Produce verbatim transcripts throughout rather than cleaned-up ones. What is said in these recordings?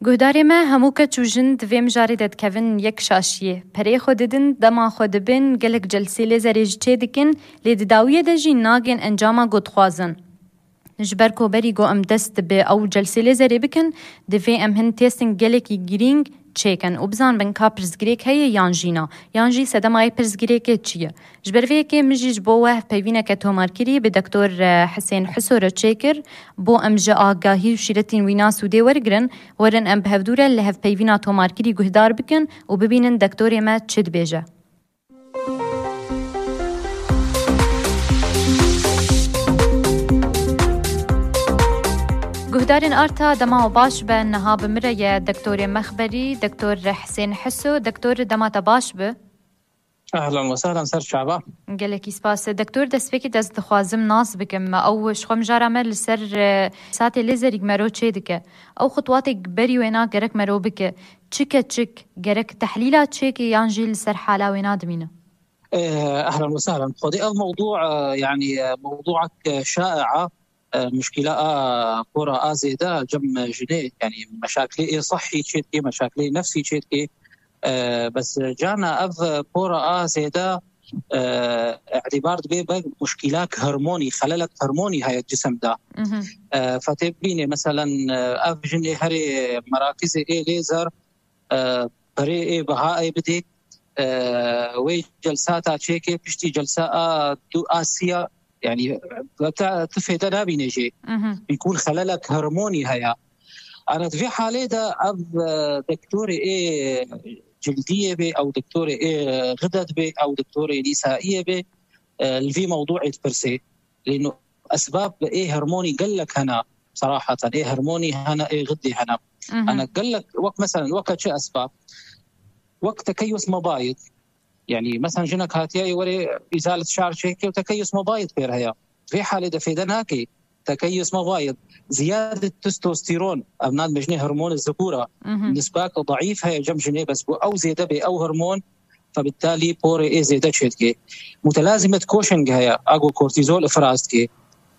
Guhdarê me, hemû keç û jin di vê mijarê de dikevin yek şaşiyê. Pereyê xwe didin, dema xwe dibin, gelek celsê lêzerê jî çê dikin, lê di dawiyê de jî nagên encama ku dixwazin. Ji ber ku berî ku em dest bi ew celsê lêzerê bikin, divê em hin testên gelekî girîng çêkin û bizanbin ka pirsgirêk heye yan jî na, yan jî sedema yê pirsgirêkê çi ye. Ji ber vê yekê min jî ji bo we hevpeyvîneke tomarkirî bi Doktor, e, Hisên Hiso re çêkir, bo em ji agahî û şîretên wî nas û dê wergirin, werin em bi hevdû re li hevpeyvîna tomarkirî guhdar bikin û bibînin doktorê me çi dibêje. Guhdarên Arta, dema we baş be, niha bi min re ye Doktorê Mexberî, Doktor Hisên Hiso. Doktor, dema te baş bi. Ehlen we sehlen ser çava. Gelekî spas. Doktor, destpêkê dest dixwazim nas bikim. Ew ji xwe mijara me li ser, e, satê lêzerî mero çê dike. Ew xutwatê berî wêna gerek mero bike. Çi keçik gerek tehlîla çêkê yan jî li ser hala wêna dimîne? Eh, ehlen we sehlen. Xwedê ev mewdû, eh, yanî, eh, mewdûek, eh, şaia, eh, muşkîla a pora a zêde cem jinê, yanî meşakilê ê sehî çê dikê, meşakilê nefsî çê dikê. Eh, bes cana ev pora a zêde, eh, îtibar dibe be muşkîlak hormonî, xelelek hormonî heye cisim de. Mhm. Eh, fetê bînê, meselen, eh, ev jinê herê merakizê ê lêzer, e, perê ê biha ê bidê, e, wê celsata çêkê, piştî celsa a du a siya, yanî, te, tu fêde nabîne jê. Mhm. Bîkûn xelelek hormonî heye. Ana di vê halê de ev, e, doktorê ê cildiyê bê, ew doktorê ê xidet bê, ew doktorê nîsaiyê bê, e, li vî mewdûê dipirsê. Lêno esbab ê hormonî gelek hene, seraheten. Ê hormonî hene, ê xidê hene. Mhm. Ana gelek, wek meselen, weke çi esbab? Wek tekeyus mebayit. Yanî, meselen, jinek hatiye, ê were îzalet şar çêke û tekeyus mebayit pêr heye. Vê halê de fêde nake. Tekeyus mebayit. Ziyadet testosteron, ev nan dijne hormonê zikûra. Mhm. Nisbak daîf heye cem jinê, bes ku ew zêde bê, ew hormon, febittalî porê ê zêde çêdikê. Mutelazimet Cushing heye, ago kortîzol ifraz dikê.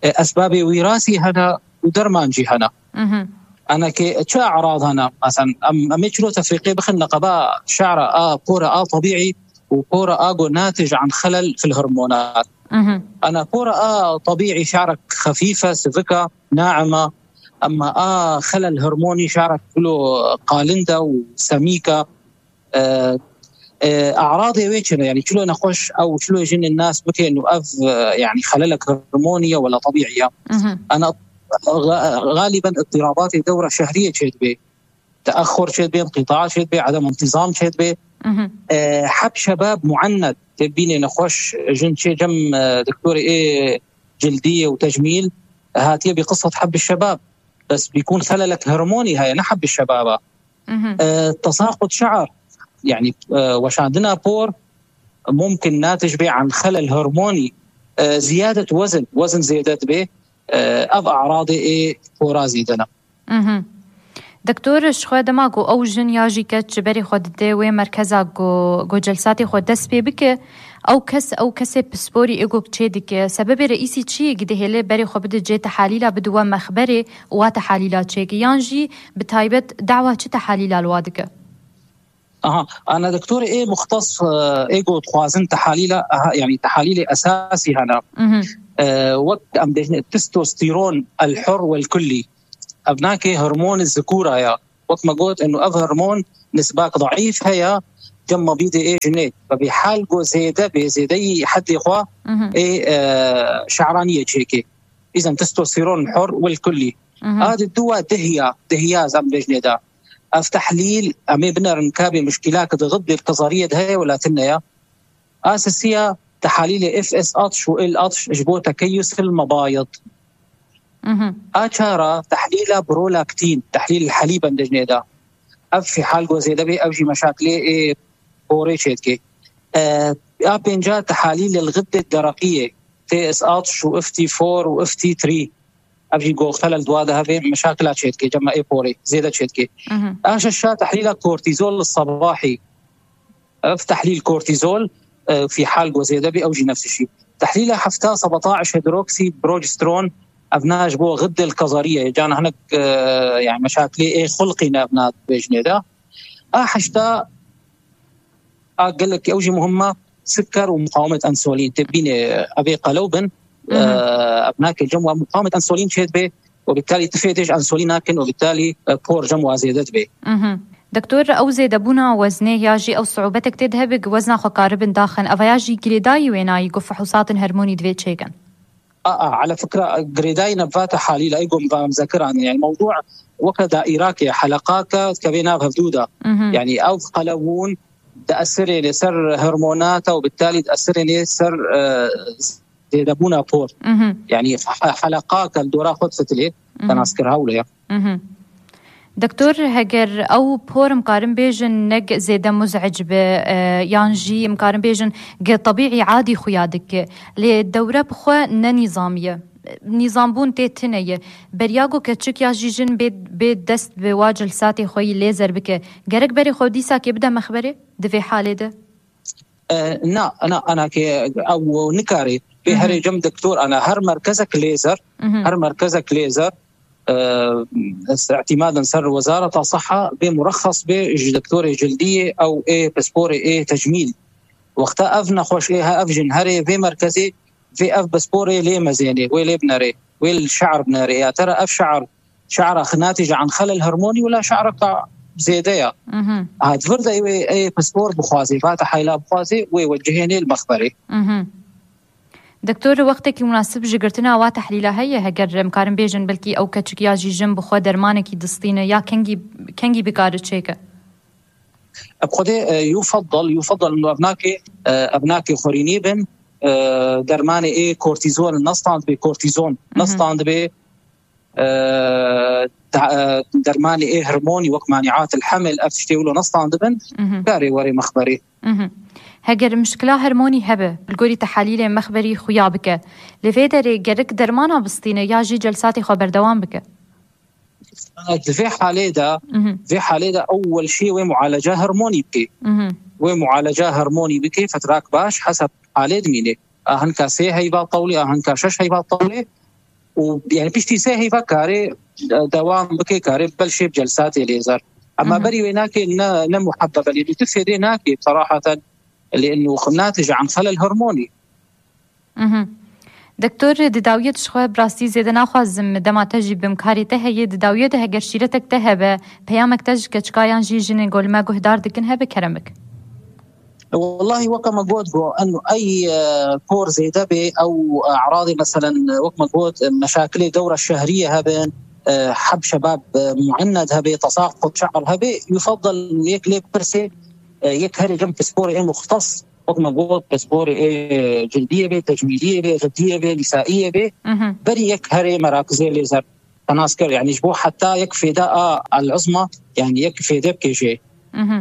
E, esbabê wîrasî hene û derman jî hene. Mhm. Ana ke çi e'rad hene? Mesela em, em ê çilo tefrîqê bixin li qeba şe'ra a pora a tebîî û pora a go natij an xelel fil hormonat. Mhm. Ana pora a tebîî şe'rek xefîfe, sivika, naima, emma a xelel hormonî şe'rek kulo qalinda û semîka. E, e, e'radê wê çi ne? Yanî çilo nexweş ew, çilo jinên nas bikin û ev, e, yanî xelelek hormonî ye wela tebîî ye? Mhm. Ana ga-, galiben îtirabatê dewra şehriyê çêdibê. Teexxur çêdibê, inqîta çêdibê, edem intizam çêdibê. Mhm. E, heb şebab muennet, tê bînê nexweş jin çê cem, e, doktorê ê cildiyê û tecmîl, hatiye bi qisset heb şebab. Bes bîkûn xelelek hormonî heye, ne heb şebaba. Mhm. E, tesaqut şe'r, yanî, e, weşandina por, mumkin natij bê an xelel hormonî, e, ziyadet wezn, wezn zêde dibe, e, ev e'radê ê pora zêde ne. Mhm. Doktor, ji xwe dema ku ew jin ya jî keç ji berê xwe dide wê merkeza ku, ku celsatê xwe dest pê bike, ew kes, ew kesê pisporî ê ku çê dike, sebebê reîsî çi ye ku dihêle berê xwe bide cê tehalîla, bide we mexberê û wa tehalîla çêke, yan jî bi taybet dawa çi tehalîla li wa dike? Aha, ana doktorê ê muxtes, e, ê ku dixwazin tehalîla, aha, yanî tehalîlê esasî hene. Mhm. E, wek em dêjin testosteron el hur wel kullî. Ev nake hormonê zikûra ya. Wek me got, eno ev hormon nisbak daîf heye, cem mebîdê ê jinê. Ve bî hal go zêde bê, zêdeyî heddê xwe Mhm. ê, e, şe'raniyê çêkê. Îzen testosteron hur wel kullî. Mhm. A di duwa dihiya, dihiya zam bêjnê de. Ev tehlîl, em ê binerin ka bê muşkîlak di xidê kazariyê de heye wela tune ya. A sisiya tehalîlê F S atş û L atş ji bo tekeyus il mebayid. Mhm. A çara tehlîla prolaktin, tehlîl helîb em dejnê de. Ev fî hal go zêde bê, ev jî meşakilê ê porê çêdikê. E, a pênca tehalîl il xidê dereqiyê, T S atş û F T four û F T three. Ev jî go xelel dua de hevê meşakila çêdikê, cema ê porê zêde çêdikê. Mhm. A şeşa tehlîla kortîzol sebahî. Ev tehlîl kortîzol, e, fî hal go zêde bî, ew jî nefs şî. Tehlîla hefta sebetaş hidroksî progesteron, Evna ji bo xiddil kazariye, can hinek, e, yani meşakilê ê xulqî ne evna bêjinê de. A heşta a gelek ew jî muhimma siker û muqawemet ensolîn. Tê bînê evê qelew bin, e, ev nake cem wa muqawemet ensolîn çê dibe û bitalî tifê dê ji ensolîn nakin û bitalî, e, por cem wa zêde dibe. Mhm. Doktor, ew zêdebûna weznê ya jî ew siûbetek tê de hebe ku wezna xwe karibin daxin, eva ya jî girêdayî wênayî ku fihûsatên hormonî divê çêkin? A, a, ala fikra, girêdayî nebvate halî la, ego mva mzekiran, yani mewdû weke daîrake, heleqake, dikeve nav hevdû de. Mhm. Yani ew qelewûn diesirêne ser hormonata û bitalî diesirêne ser, e, zêdebûna por. Mhm. Yani he-, heleqake li dora xwe difitilê, Mhm. tenaskir hewle ya. Mhm. Doktor, heger ew por, em karin bêjin, ne zêde muzec be, e, yan jî em karin bêjin ge tebîî adî xuya dike, lê dewre bi xwe ne nîzamî ye. Nîzambûn tê tune ye. Beriya ku keçik ya jî jin bê, bê dest bi wa celsatê xwe yî lêzer bike, gerek berê xwe dîsakê bide mexberê di vê halê de? E, na, na, ana ke ew nikare. Bê Mhm. herê cem doktor, ana her merkezek lêzer, Mhm. her merkezek lêzer, e, îtimaden ser Wezareta Siha bê murexxes bê ji doktorê cildiyê ew ê pisporê ê tecmîl. Wexta ev nexweş ê he, ev jin herê vê merkezê, vê ev pisporê lê mezênê, wê lê binerê, wê li şe'r binerê. Ya tera ev şe'r, şe'ra xinatî ji an xelel hormonî wila şe'reka zêde ya. Mhm. Ha, di vir de wê ê pispor bixwazê, vate heyla bixwazê, wê wecihênê li mexberê. Mhm. Doktor, wextekî munasib ji girtina wa tehlîla heye, heger em karin bêjin, belkî ew keçik ya jî jin bi xwe dermanekî distîne, ya kengî, kengî bikare çêke? Bi xwedê, e, yufeddel, yufeddel û ev nake, e, ev nake xwerînî bin, e, dermanê ê kortîzol nestand bê, kortîzon Mhm. nestand bê, e, da-, e, dermanê ê hormonî wek maniatil hemil, ev tiştê wilo nestand bin, Mhm. karê werê mexberê. Mhm. Heger mişkila hormonî hebe, li gorî tehalîlê mexberî xuya bike, li vê derê gerek dermana bistîne ya jî celsatê xwe berdewam bike? Di vê halê de, Mhm. vê halê de ewwel şî wê mualeca hormonî bike. Mhm. Wê mualeca hormonî bike, fetrak baş, hesab halê dimîne. A hinka sê heyva tewlê, a hinka şeş heyva tewlê. Û, yani, piştî sê heyva karê, e, dewam bike, karê bel şê bi celsatê lêzer. Ama Mhm. berî wê nake, ne, ne muhabbebe lê tu fêdê nake, seraheten, lê inu natij an xelel hormonî. Mhm. Doktor, di dawiyê de ji xwe bi rastî zêde naxwazim dema te jî bim karê te heye, di dawiyê de heger şîretek te hebe, peyamek te ji keçika yan jî jinên ku li me guhdar dikin hebe, kerem bik. Wallahî weke me got, go enu ey, e, por zêde bê, ew, e, eradê, meselen, wek me got, e, meşakilê dewra şehriyê hebin, e, heb şebab, e, muenned hebe, tesaqut şe'r hebe, yufeddel yek lê pirsê, e, yek herê cem pisporê ê muxtes, wek me got, pisporê ê cildiyê bê, tecmîliyê bê, xiddiyê bê, nîsaiyê bê, Mhm. berî yek herê merakizê lêzer tenaskir, yani ji bo heta yek fêda a el-uzma, yani yek fêde bikêşê Mhm.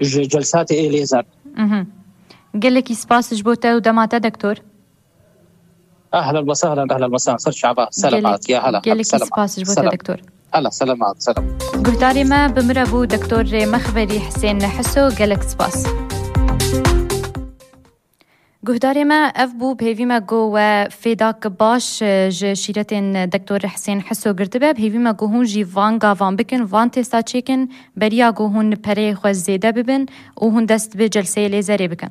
ji celsatê ê lêzer. Mhm. Gelekî spas ji bo te û dema te, doktor. Ehlen ve sehlen, ehlen ve sehlen. Ser çava, Gelek-, selamat, ya hela. Gelekî Selamat. spas ji bo te, Selam. doktor. Hela, selamat, selam. Guhdarê me bi min re bû doktor Rêmexberî Hisên Hiso, gelek spas. Guhdarê me, ev bû, bi hêvî me ku we fêdak baş, e, ji şîretên doktor Hisên Hiso girtibe. Bi hêvî me ku hûn jî van gavan bikin, van testa çêkin, beriya ku hûn pereyê xwe zêde bibin û hûn dest bi celseyê lêzerê bikin.